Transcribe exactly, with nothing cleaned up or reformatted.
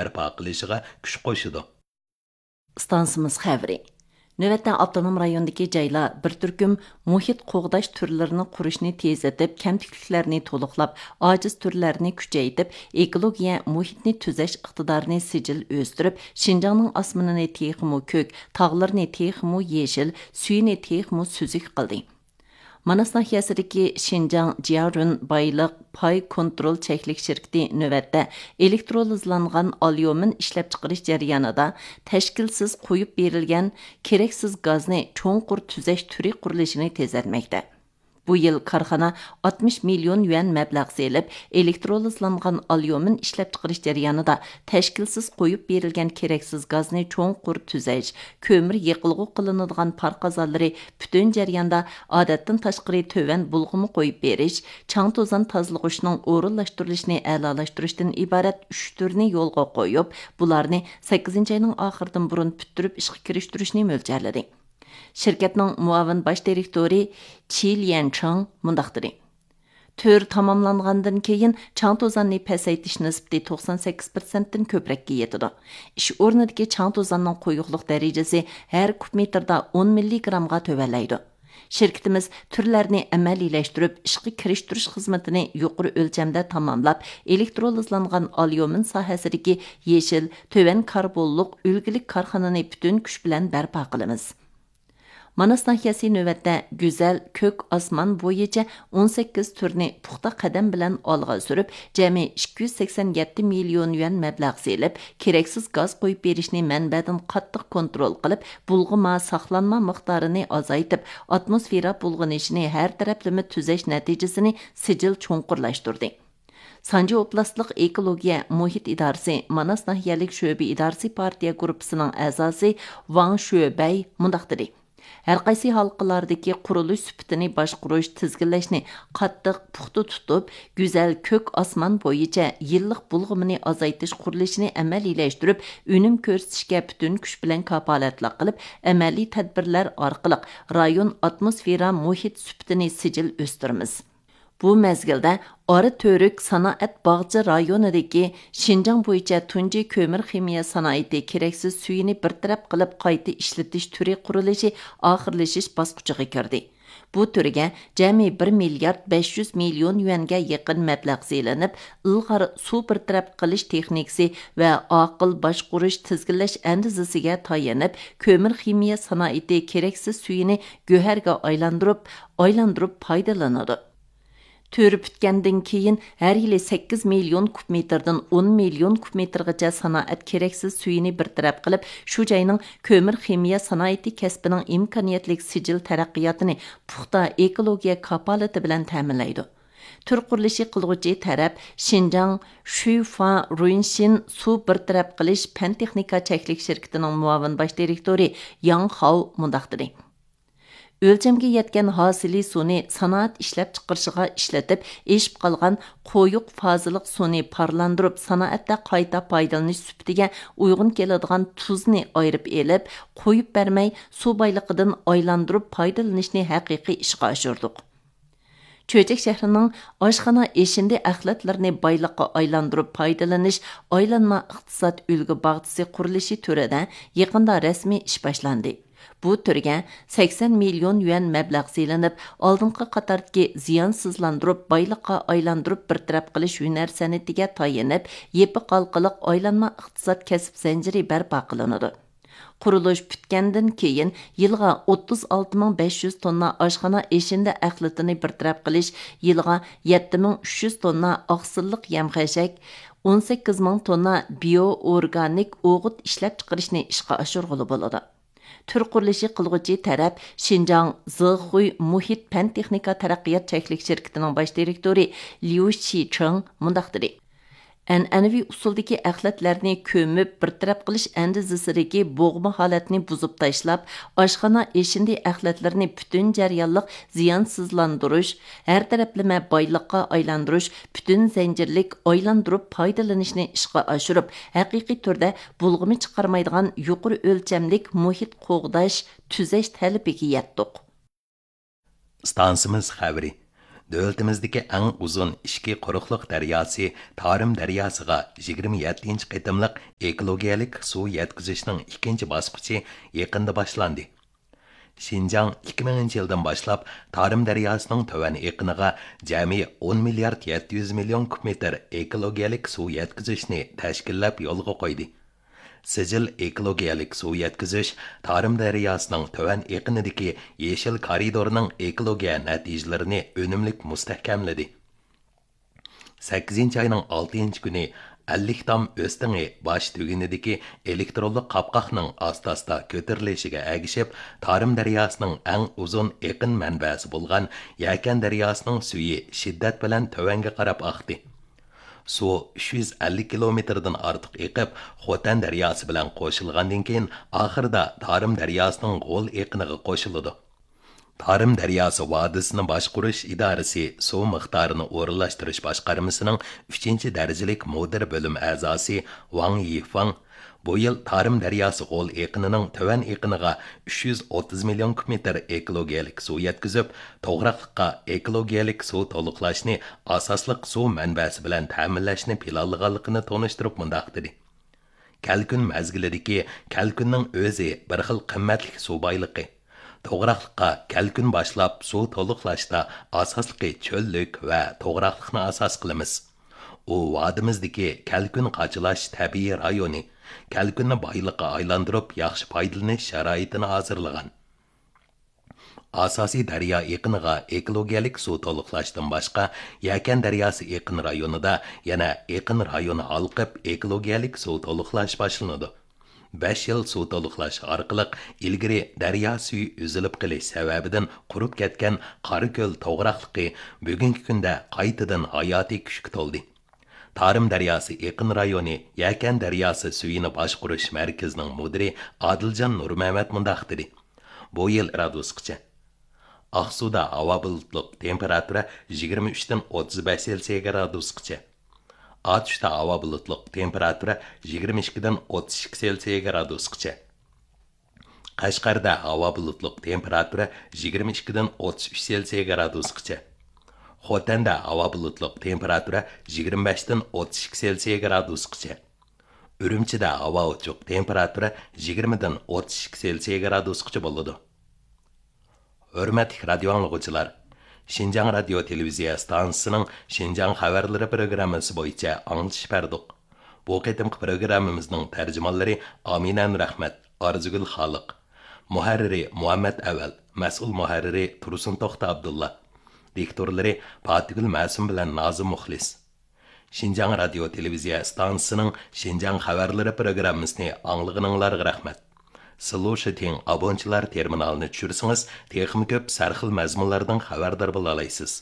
بەرپا قىلىشىغا كۈچ قوشىدۇ. ئىستانسىمىز خەۋىرى. نۆۋەتتە ئاپتونوم رايوندىكى جايلار بىر تۈركۈم مۇھىت قوغداش تۈرلىرىنى قۇرۇشنى تېزلىتىپ، كەمتۈكلۈكلەرنى تولۇقلاپ، ئاجىز تۈرلەرنى كۈچەيتىپ، ئېكولوگىيە مۇھىتنى تۈزەش ئىقتىدارىنى سىجىل ئۆستۈرۈپ، شىنجاڭنىڭ ئاسمىنىنى تېخىمۇ كۆك، تاغلىرىنى تېخىمۇ يېشىل، سۈيىنى تېخىمۇ سۈزۈك قىلدى. ماناس ناھىيەسىدىكى شىنجاڭ جيارۈن بايلىق پاي كونترول چەكلىك شىركىتى نۆۋەتتە ئېلېكترولىزلانغان ئاليۇمىن ئىشلەپچىقىرىش جەريانىدا تەشكىلسىز قويۇپ بېرىلگەن كېرەكسىز گازنى چوڭقۇر تۈزەش تۈرى قۇرۇلۇشىنى تېزلەتمەكتە. بۇ يىل كارخانا ئاتمىش مىليون يۈەن مەبلەغ سېلىپ، ئېلېكترولىزلانغان ئاليۇمىن ئىشلەپچىقىرىش جەريانىدا تەشكىلسىز قويۇپ بېرىلگەن كېرەكسىز گازنى چوڭقۇر تۈزەش، كۆمۈر يېقىلغۇ قىلىنىدىغان پار قازانلىرى پۈتۈن جەرياندا ئادەتتىن تاشقىرى تۆۋەن بۇلغىما قويۇپ بېرىش، چاڭ توزان تازىلىغۇچنىڭ ئورۇنلاشتۇرۇلۇشىنى ئەلالاشتۇرۇشتىن ئىبارەت ئۈچ تۈرنى يولغا قويۇپ، بۇلارنى سەككىزىنچى ئاينىڭ ئاخىرىدىن بۇرۇن پۈتتۈرۈپ ئىشقا كىرىشتۈرۈشنى مۆلچەرلىدى. شىركەتنىڭ مۇئاۋىن باش دىرېكتورى چى ليەنچىڭ مۇنداق دېدى: تۈر تاماملانغاندىن كېيىن، چاڭ توزاننى پەسەيتىش نىسبىتى توقسان سەككىز پىرسەنتتىن كۆپرەككە يېتىدۇ. ئىش ئورنىدىكى چاڭ توزاننىڭ قويۇقلۇق دەرىجىسى ھەر كۇب مېتىردا ئون مىللىگرامغا تۆۋەنلەيدۇ. شىركىتىمىز تۈرلەرنى ئەمەلىيلەشتۈرۈپ، ئىشقا كىرىشتۈرۈش خىزمىتىنى يۇقىرى ئۆلچەمدە تاماملاپ، ئېلېكترولىزلانغان ئاليۇمىن ساھەسىدىكى يېشىل، تۆۋەن كاربونلۇق، ئۈلگىلىك كارخانىنى پۈتۈن كۈچ بىلەن بەرپا قىلىمىز. ماناس ناھىيەسى نۆۋەتتە گۈزەل كۆك ئاسمان بويىچە ئون سەككىز تۈرنى پۇختا قەدەم بىلەن ئالغا سۈرۈپ، جەمئىي ئىككى يۈز سەكسەن يەتتە مىليون يۈەن مەبلەغ سېلىپ، كېرەكسىز گاز قويۇپ بېرىشنى مەنبەدىن قاتتىق كونترول قىلىپ، بۇلغىما، ساقلانما مىقدارىنى ئازايتىپ، ئاتموسفېرا بۇلغىنىشىنى ھەر تەرەپلىمە تۈزەش نەتىجىسىنى سىجىل چوڭقۇرلاشتۇردى. سانجى ئوبلاستلىق ئېكولوگىيە مۇھىت ئىدارىسى ماناس ناھىيەلىك شۆبە ئىدارىسى پارتىيە گۇرۇپپىسىنىڭ ئەزاسى ۋاڭ شۆبەي مۇنداق دېدى: ھەرقايسى ھالقىلاردىكى قۇرۇلۇش سۈپىتىنى باشقۇرۇش، تىزگىنلەشنى قاتتىق پۇختا تۇتۇپ، گۈزەل كۆك ئاسمان بويىچە يىللىق بۇلغىمىنى ئازايتىش قۇرۇلۇشىنى ئەمەلىيلەشتۈرۈپ، ئۈنۈم كۆرسىتىشكە پۈتۈن كۈچ بىلەن كاپالەتلىك قىلىپ، ئەمەلىي تەدبىرلەر ئارقىلىق رايون ئاتموسفېرا مۇھىت سۈپىتىنى سىجىل ئۆستۈرىمىز. بۇ مەزگىلدە ئارا تۈرك سانائەت باغچە رايونىدىكى شىنجاڭ بويىچە تۇنجى كۆمۈر خىمىيە سانائىتى كېرەكسىز سۈيىنى بىر تەرەپ قىلىپ قايتا ئىشلىتىش تۈرى قۇرۇلۇشى ئاخىرلىشىش باسقۇچىغا كىردى. بۇ تۈرگە جەمئىي بىر مىليارد بەش يۈز مىليون يۈەنگە يېقىن مەبلەغ سېلىنىپ، ئىلغار سۇ بىر تەرەپ قىلىش تېخنىكىسى ۋە ئاقىل باشقۇرۇش تىزگىنلەش ئەندىزىسىگە تايىنىپ، كۆمۈر خىمىيە سانائىتى كېرەكسىز سۈيىنى گۆھەرگە ئايلاندۇرۇپ، ئايلاندۇرۇپ پايدىلىنىدۇ. تۈر پۈتكەندىن كېيىن، ھەر يىلى سەككىز مىليون كۇب مېتىردىن ئون مىليون كۇب مېتىرغىچە سانائەت كېرەكسىز سۈيىنى بىر تەرەپ قىلىپ، شۇ جاينىڭ كۆمۈر خىمىيە سانائىتى كەسپىنىڭ ئىمكانىيەتلىك سىجىل تەرەققىياتىنى پۇختا ئېكولوگىيە كاپالىتى بىلەن تەمىنلەيدۇ. تۈر قۇرۇلۇشى قىلغۇچى تەرەپ شىنجاڭ شۈيفا رۇينشىن سۇ بىر تەرەپ قىلىش پەن تېخنىكا چەكلىك شىركىتىنىڭ مۇئاۋىن باش دىرېكتورى ياڭ خاۋ مۇنداق دېدى: ئۆلچەمگە يەتكەن ھاسىلىي سۇنى سانائەت ئىشلەپچىقىرىشىغا ئىشلىتىپ، ئېشىپ قالغان قويۇق فازىلىق سۇنى پارلاندۇرۇپ، سانائەتتە قايتا پايدىلىنىش سۈپىتىگە ئۇيغۇن كېلىدىغان تۇزنى ئايرىپ ئېلىپ، قويۇپ بەرمەي، سۇ بايلىقىدىن ئايلاندۇرۇپ پايدىلىنىشنى ھەقىقىي ئىشقا ئاشۇردۇق. چۆچەك شەھىرىنىڭ ئاشخانا ئېشىندى ئەخلەتلىرىنى بايلىققا ئايلاندۇرۇپ پايدىلىنىش ئايلانما ئىقتىساد ئۈلگە باغچىسى قۇرۇلۇشى تۈرىدە يېقىندا رەسمىي ئىش باشلاندى. بۇ تۈرگە سەكسەن مىليون يۈەن مەبلەغ سېلىنىپ، ئالدىنقى قاتاردىكى زىيانسىزلاندۇرۇپ، بايلىققا ئايلاندۇرۇپ بىر تەرەپ قىلىش ھۈنەر سەنئىتىگە تايىنىپ، يېپىق ھالقىلىق ئايلانما ئىقتىساد كەسىپ زەنجىرى بەرپا قىلىنىدۇ. قۇرۇلۇش پۈتكەندىن كېيىن، يىلىغا ئوتتۇز ئالتە مىڭ بەش يۈز توننا ئاشخانا ئېشىندى ئەخلىتىنى بىر تەرەپ قىلىش، يىلىغا يەتتە مىڭ ئۈچ يۈز توننا ئاقسىللىق يەم خەشەك، ئون سەككىز مىڭ توننا بىيو ئورگانىك ئوغۇت ئىشلەپچىقىرىشنى ئىشقا ئاشۇرغىلى بولىدۇ. تۈر قۇرۇلۇشى قىلغۇچى تەرەپ شىنجاڭ زېخۇي مۇھىت پەن تېخنىكا تەرەققىيات چەكلىك شىركىتىنىڭ باش دىرېكتورى ليۇ شىچېڭ مۇنداق دېدى: ئەنئەنىۋى ئۇسۇلدىكى ئەخلەتلەرنى كۆمۈپ بىر تەرەپ قىلىش ئەندىزىسىدىكى بوغما ھالەتنى بۇزۇپ تاشلاپ، ئاشخانا ئېشىندى ئەخلەتلىرىنى پۈتۈن جەريانلىق زىيانسىزلاندۇرۇش، ھەر تەرەپلىمە بايلىققا ئايلاندۇرۇش، پۈتۈن زەنجىرلىك ئايلاندۇرۇپ پايدىلىنىشنى ئىشقا ئاشۇرۇپ، ھەقىقىي تۈردە بۇلغىما چىقارمايدىغان يۇقىرى ئۆلچەملىك مۇھىت قوغداش، تۈزەش تەلىپىگە يەتتۇق. ئىستانسىمىز خەۋىرى. دۆلىتىمىزدىكى ئەڭ ئۇزۇن ئىچكى قۇرۇقلۇق دەرياسى تارىم دەرياسىغا يىگىرمە يەتتىنچى قېتىملىق ئېكولوگىيەلىك سۇ يەتكۈزۈشنىڭ ئىككىنچى باسقۇچى يېقىندا باشلاندى. شىنجاڭ ئىككى مىڭىنچى يىلدىن باشلاپ تارىم دەرياسىنىڭ تۆۋەن ئېقىنىغا جەمئىي ئون مىليارد يەتتە يۈز مىليون كۇب مېتىر ئېكولوگىيەلىك سۇ يەتكۈزۈشنى تەشكىللەپ يولغا قويدى. سىجىل ئېكولوگىيەلىك سۇ يەتكۈزۈش تارىم دەرياسىنىڭ تۆۋەن ئېقىنىدىكى يېشىل كارىدورنىڭ ئېكولوگىيە نەتىجىلىرىنى ئۈنۈملۈك مۇستەھكەملىدى. سەككىزىنچى ئاينىڭ ئالتىنچى كۈنى ئەللىك تام ئۆستىڭى باش تۈگۈنىدىكى ئېلېكترونلۇق قاپقاقنىڭ ئاستا-ئاستا كۆتۈرۈلۈشىگە ئەگىشىپ، تارىم دەرياسىنىڭ ئەڭ ئۇزۇن ئېقىن مەنبەسى بولغان يەكەن دەرياسىنىڭ سۈيى شىددەت بىلەن تۆۋەنگە قاراپ ئاقتى. سۇ ئۈچ يۈز ئەللىك كىلومېتىردىن ئارتۇق ئېقىپ، خوتەن دەرياسى بىلەن قوشۇلغاندىن كېيىن، ئاخىرىدا تارىم دەرياسىنىڭ غول ئېقىنىغا قوشۇلىدۇ. تارىم دەرياسى ۋادىسىنى باشقۇرۇش ئىدارىسى سۇ مىقدارىنى ئورۇنلاشتۇرۇش باشقارمىسىنىڭ ئۈچىنچى دەرىجىلىك مۇدىر بۆلۈم ئەزاسى ۋاڭ يىفاڭ بۇ يىل تارىم دەرياسى غول ئېقىنىنىڭ تۆۋەن ئېقىنىغا ئۈچ يۈز ئوتتۇز مىليون كۇب مېتىر ئېكولوگىيەلىك سۇ يەتكۈزۈپ، توغراقلىققا ئېكولوگىيەلىك سۇ تولۇقلاشنى ئاساسلىق سۇ مەنبەسى بىلەن تەمىنلەشنى پىلانلىغانلىقىنى تونۇشتۇرۇپ مۇنداق دېدى: كەلكۈن مەزگىلىدىكى كەلكۈننىڭ ئۆزى بىر خىل قىممەتلىك سۇ بايلىقى. توغراقلىققا كەلكۈن باشلاپ سۇ تولۇقلاشتا ئاساسلىقى چۆللۈك ۋە توغراقلىقنى ئاساس قىلىمىز. ئۇ ۋادىمىزدىكى كەلكۈن قاچىلاش تەبىئىي رايونى، كەلكۈننى بايلىققا ئايلاندۇرۇپ ياخشى پايدىلىنىش شارائىتىنى ھازىرلىغان. ئاساسىي دەريا ئېقىنىغا ئېكولوگىيەلىك سۇ تولۇقلاشتىن باشقا، يەكەن دەرياسى ئېقىن رايونىدا يەنە ئېقىن رايونى ھالقىپ ئېكولوگىيەلىك سۇ تولۇقلاش باشلىنىدۇ. بەش يىل سۇ تولۇقلاش ئارقىلىق ئىلگىرى دەريا سۈيى ئۈزۈلۈپ قېلىش سەۋەبىدىن قۇرۇپ كەتكەن قاراكۆل توغراقلىقى بۈگۈنكى كۈندە قايتىدىن ھاياتىي كۈچكە تولدى. تارىم دەرياسى ئېقىن رايونى يەكەن دەرياسى سۈيىنى باشقۇرۇش مەركىزىنىڭ مۇدىرى ئادىلجان نۇرمەمەت مۇنداق دېدى: بۇ يىل گرادۇسقىچە. ئاقسۇدا ھاۋا بۇلۇتلۇق، تېمپېراتۇرا يىگىرمە ئۈچتىن ئوتتۇز بەش سېلسىيە گرادۇسقىچە. ئاتۇشتا ھاۋا بۇلۇتلۇق، تېمپېراتۇرا يىگىرمە ئىككىدىن ئوتتۇز ئىككى سېلسىيە گرادۇسقىچە. قەشقەردە ھاۋا بۇلۇتلۇق، تېمپېراتۇرا يىگىرمە ئىككىدىن ئوتتۇز ئۈچ سېلسىيە گرادۇسقىچە. خوتەندە ھاۋا بۇلۇتلۇق، تېمپېراتۇرا يىگىرمە بەشتىن ئوتتۇز ئىككى سېلسىيە گرادۇسقىچە. ئۈرۈمچىدە ھاۋا ئوچۇق، تېمپېراتۇرا يىگىرمىدىن ئوتتۇز ئىككى سېلسىيە گرادۇسقىچە بولىدۇ. ھۆرمەتلىك رادىيو ئاڭلىغۇچىلار، شىنجاڭ رادىيو تېلېۋىزىيە ئىستانسىسىنىڭ شىنجاڭ خەۋەرلىرى پروگراممىسى بويىچە ئاڭلىتىش بەردۇق. بۇ قېتىمقى پروگراممىمىزنىڭ تەرجىمانلىرى ئامىنە نۇرئەخمەت، ئارزۇگۈل خالىق، مۇھەررىرى مۇھەممەت ئەۋەل، مەسئۇل مۇھەررىرى تۇرسۇن توختى ئابدۇللا، دىكتورلىرى پاتىگۈل مەسۇم بىلەن نازىم مۇخلىس. شىنجاڭ رادىيو تېلېۋىزىيە ئىستانسىسىنىڭ شىنجاڭ خەۋەرلىرى پروگراممىسىنى ئاڭلىغىنىڭلارغا رەھمەت. سلۇشىتىڭ ئابونچىلار تېرمىنالىنى چۈشۈرسىڭىز، تېخىمۇ كۆپ سەرخىل مەزمۇنلاردىن خەۋەردار بولالايسىز.